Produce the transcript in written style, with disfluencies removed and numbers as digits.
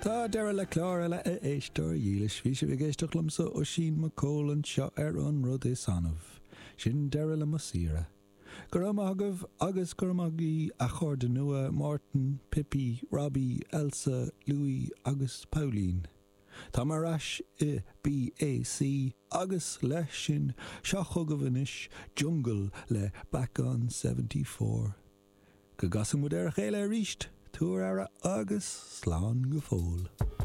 Tá deireadh le clár eile a éisteoir dhílis. Bhí sibh ag éisteacht liomsa, Oisín Mac Cóil, anseo ar An Rud Is Annamh. Sin deireadh le mo saoire. Go raibh maith agaibh agus go raibh maith agaibh a chairde nua, Mártan, Pippi, Robbie, Elsa, Louis agus Pauline. Táim ar ais i BAC agus leis sin, seo chugaibh anois Jungle le Back on 74. Go gcasfaidh muid ar a chéile arís, tabhair aire agus slán go fóill.